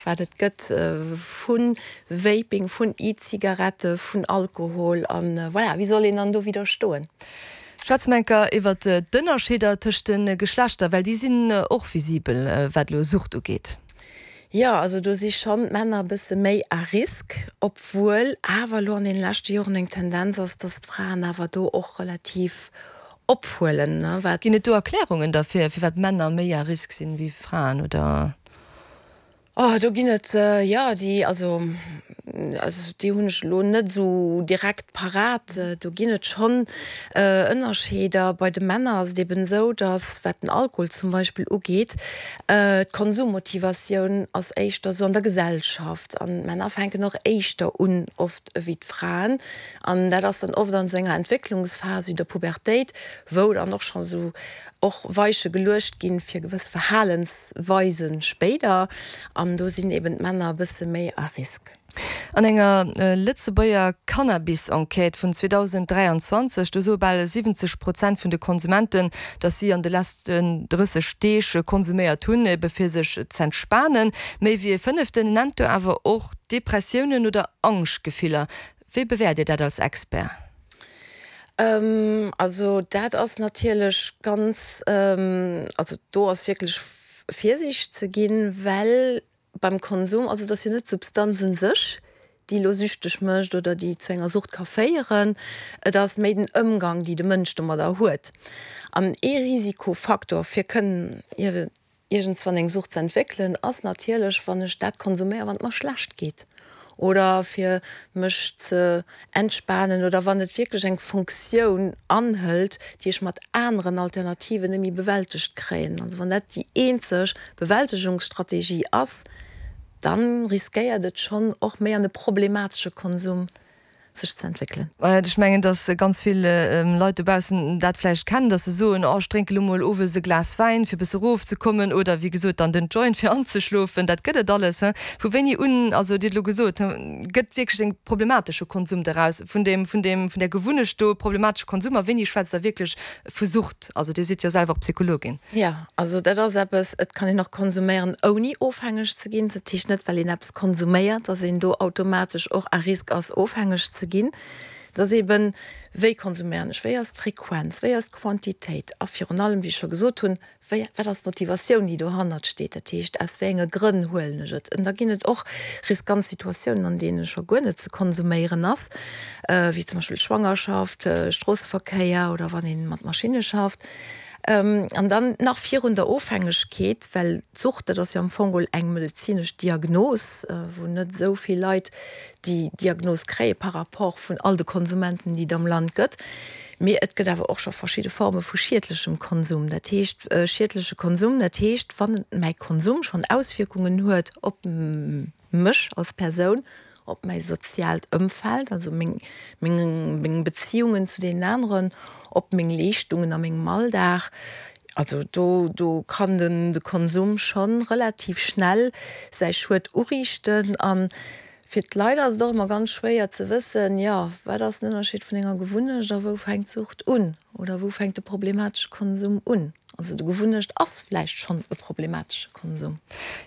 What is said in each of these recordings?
Wat et gëtt vu Vaping, vun E-Zigarette, vun Alkohol an voilà, wéi soll een dann do widderstoen? Schwätze mer enker iwwert d'Ënnerscheeder tëscht de Geschlechter, well déi sinn och visibel, wat elo Sucht ugeet. Jo, also do si schonn d'Männer e bësse méi à risque, obwuel awer elo an deene leschte Joren eng Tendenz ass, dass d'Fraen awer do och relativ ophuelen, wat. Ginn et do Erklärungen derfir, firwat Männer méi à risque sinn wéi Fraen, oder? Oh, do ginn et, jo, déi, also, also déi hunn ech elo net esou direkt parat. Do ginn et schonn Ënnerscheeder. Bei de Männer ass et eben esou, datt, wat den Alkohol zum Beispill ugeet, d'Konsummotivatioun ass éischter esou an der Gesellschaft an d'Männer fänken och éischter un oft ewéi d'Fraen. An dat ass dann oft an esou enger Entwécklungsphas wéi der Pubertéit, wou dann och schonn esou och Weiche geluecht ginn fir gewëss Verhalensweisen spéider, an do sinn eben d'Männer e bësse méi à risque. An enger Lëtzebuerger Cannabis-Enquête vun 2023, do soe bal 70 Prozent vun de Konsumenten, datt si an de leschten 30 Deeg konsuméiert hunn, ebe fir sech z'entspanen. Méi wéi e Fënneften nennt do awer och Depressiounen oder Angschtgefiller. Wéi bewäert Dir dat als Expert? Also dat ass natierlech ganz, also do ass wierklech Virsiicht ze ginn, well beim Konsum, also et ass jo net d'Substanz u sech, déi elo süchteg mécht oder déi zu enger Sucht ka féieren, et ass méi den Ëmgang, déi de Mënsch domadder huet. An ee Risikofaktor fir kënnen Iergendswann eng Sucht ze entwéckelen ass natierlech, wann ech dat konsuméieren, wann et mer schlecht geet oder fir mech ze entspanen oder wann et wierklech eng Funktioun anhëlt, déi ech mat aneren Alternativen net méi bewältegt kréien. Also wann dat déi eenzeg Bewältegungsstrategie ass, dann riskéiert et schonn och méi an e problematesche Konsum sech ze entwéckelen. Ech mengen, datt ganz vill Leit dobaussen dat vläicht kennen, datt se soen, oh ech drénke lo mol owes e Glas Wäin, fir e bësse erofzekommen, oder wéi gesot dann den Joint fir anzeschlofen. Dat gëtt et alles. Vu wéini un, also Dir hutt elo gesot, gëtt wierklech e problematesche Konsum doraus, vun deem, vun deem, vun där Gewunnecht do, problematesche Konsum, a wéini schwätzt Der wierklech vu Sucht? Also Dir sidd jo selwer och Psychologin. Jo, also dat ass eppes, et kann een och konsuméieren ouni ofhängeg ze ginn. Dat heescht net, well een eppes konsuméiert, datt een do automatesch och à risque ass ofhängeg ze ginn. Et ass eben, wéi konsuméieren ech, wéi ass d'Frequenz, wéi ass d'Quantitéit a virun allem, wéi ech scho gesot hunn, wéi, wat ass d'Motivatioun, déi dohannert steet, dat heescht, aus wéi enge Grënn huelen ech et. An da ginn et och riskant Situatiounen, an deene scho guer net ze konsuméieren ass, wéi zum Beispill Schwangerschaft, Stroosseverkéier oder wann ee mat Maschinne schafft. An dann nach virun der Ofhängegkeet, well d'Sucht, dat ass jo am Fong geholl eng medezinesch Diagnos, wou net esou vill Leit déi Diagnos kréie par rapport vun all de Konsumenten, déi et am Land gëtt. Mee et gëtt awer och scho verschidde Forme vu schiedlechem Konsum. Dat heescht, schiedleche Konsum, dat heescht, wann mäi Konsum schonn Auswierkungen huet op mech als Persoun, op mäi soziaalt Ëmfeld, also meng, meng, meng Beziungen zu deenen aneren, op meng Leeschtungen a mengem Alldag. Also do, do kann den, de Konsum schonn relativ schnell säi Schued uriichten. A fir d'Leit ass et och ëmmer ganz schwéier ze wëssen, jo, wat ass den Ënnerscheed vun enger Gewunnecht a wou fänkt d'Sucht un? Oder wou fänkt de problematesche Konsum un? Also de Gewunnecht ass vläicht schonn e problematesche Konsum.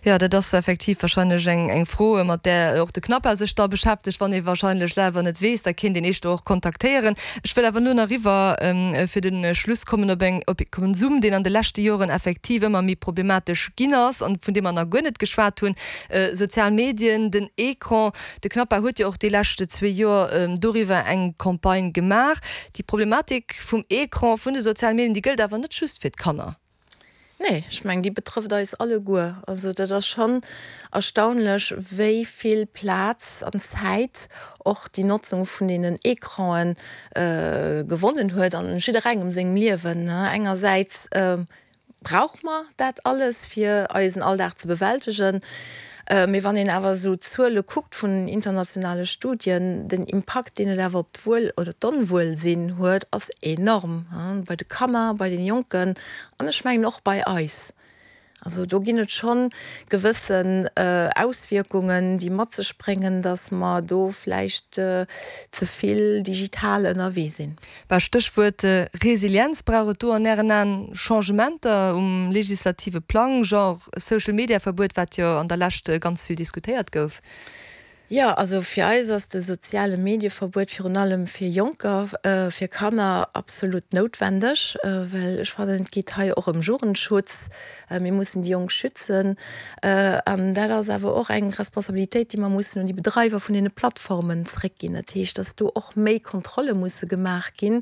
Jo, dat ass effektiv wahrscheinlech eng Fro, mat där och de CNAPA sech da beschäftegt. Wann ee wahrscheinlech selwer net weess, da kéint een eech do och kontaktéieren. Ech wëll awer elo nach eriwwer fir de Schluss kommen op eng, op e Konsum, deen an de leschte Joren effektiv ëmmer méi problematesch ginn ass an vun deem mer nach guer net geschwat hunn, Sozial Medien, den Ecran. De CNAPA huet jo och déi leschte zwee Joer doriwwer eng Campagne gemaach. Déi Problematik vum Ecran, vun de sozialen Medien, déi gëllt awer net just fir d'Kanner. Nee, ech mengen, déi betrëfft eis alleguer. Also dat ass schonn erstaunlech, wéi vill Plaz an Zäit och déi Notzung vun deenen Ecranen gewonnen huet an jidderengem sengem Liewen. Engersäits Brauche mer dat alles, fir eisen Alldag ze bewältegen? Mee wann een awer esou d'Zuele kuckt vun internationale Studien, den Impakt, deen et awer op d'Wuel oder d'Onwuelsinn huet, ass enorm, bei de Kanner, bei den Jonken an ech mengen och bei eis. Also do ginn et schonn gewëssen Auswierkungen, déi mat sech bréngen, dass mer do vläicht ze vill digital ënnerwee sinn. Bah, Stéchwuert Resilienz, Brauch et do an Ären Aen Changementer um legislative Plang, genre Social-Media-Verbuet, wat jo an der Lescht ganz vill diskutéiert gouf? Jo, also fir eis ass de soziale Medieverbuet virun allem fir Jonker, fir Kanner absolut noutwendeg, well ech fannen, et geet hei och ëm Jugendschutz. Mir mussen déi Jonk schützen. An dat ass awer och eng Responsabilitéit, déi mer mussen un déi Bedreiwer vun deene Plattformen zréckginn. Dat heescht, dass do och méi Kontrolle musse gemaach ginn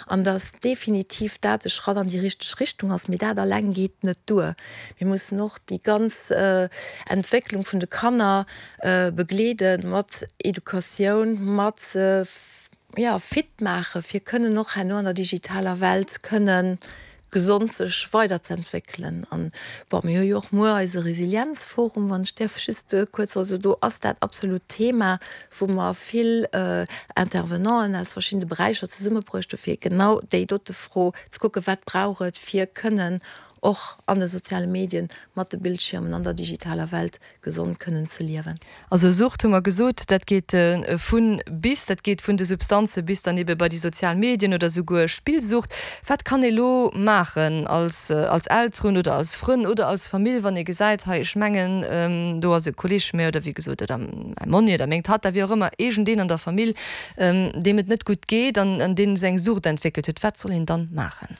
an dass definitiv dat e Schratt an déi richteg Richtung ass. Mee dat alleng geet net duer. Mir mussen och déi ganz Entwécklung vun de Kanner begleede mat Educatioun, mat jo fit maache fir kënnen och herno an der digitaler Welt kënne gesond sech weiderz'entwéckelen. An bon, mir hu jo och muer eise Resilienzforum, wann ech däerf just kuerz, also do ass dat absolut Thema, wou mer vill Intervenanten aus verschiddene Beräicher zesummebruecht hu fir genau déi dote Fro ze kucken, wat brauch et fir kënnen och an de soziale Medien mat de Bildschiermen an der digitaler Welt gesond kënnen ze liewen. Also Sucht hu mer gesot, dat geet vu bis, dat geet vun de Substanze bis dann ebe bei déi sozial Medien oder souguer Spillsucht. Wat kann ee lo maachen als als Elteren oder als Frënn oder als Famill, wann ee gesäit, hei ech mengen do ass e Kolleeg vu mir oder wéi gesot oder mäi Monni oder meng Tatta, wéi och ëmmer, iergendeen an der Famill, deem et net gutt geet an deen esou eng Sucht entwéckelt huet, wat soll een dann maachen?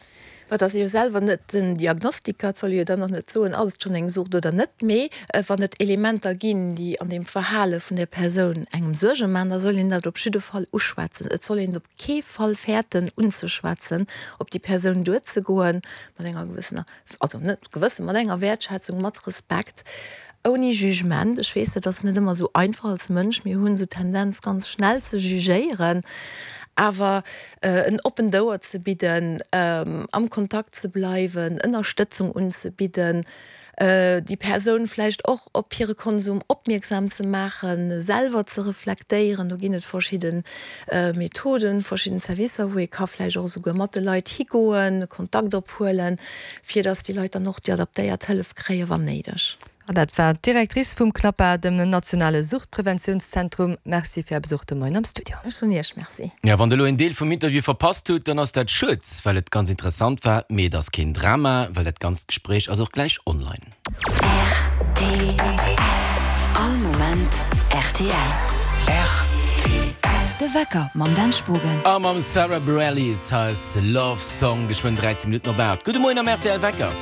Ma et ass ee jo selwer net den Diagnostiker, et soll ee jo dann och net soen, ass et schonn eng Sucht oder net. Mee wann et Elementer ginn, déi an deem Verhale vun där Persoun engem Suerge maachen, da soll een dat op jidde Fall uschwätzen. Et soll een et op kee Fall fäerten unzeschwätzen, op déi Persoun duerzegoen, mat enger gewëssener, also net gewëssen, mat enger Wäertschätzung, mat Respekt, ouni Jugement. Ech weess, dat ass net ëmmer esou einfach als Mënsch, mir hunn esou d'Tendenz ganz schnell ze jugéieren, awer en oppent Ouer ze bidden, am Kontakt ze bleiwen, Ënnerstëtzung unzebidden, déi Persoun vläicht och op hire Konsum opmierksam ze maachen, selwer ze reflektéieren. Do ginn et verschidde Methoden, verschidden Servicer, wou ee ka vläicht och esouguer mat de Leit higoen, Kontakt ophuelen, fir datt déi Leit dann och déi adaptéiert Hëllef kréien, wann néideg. An dat war d'Directrice vum CNAPA, dem nationale Suchtpreventiounszentrum. Merci fir Är Besuch de Moien am Studio. Ech soen Iech Merci. Jo, wann der elo een Deel vum Interview verpasst hutt, dann ass dat schued, well et ganz interessant war. Mee et ass keen Drama, well dat ganzt Gespréich ass och gläich online. Rtl. All Moment rtl. Rtl. De Wecker mam Dan Spogen. A mam Sarah Bareilles hei ass Love Song, geschwënn 13 Minutten op 8. Gudde Moien am rtl Wecker.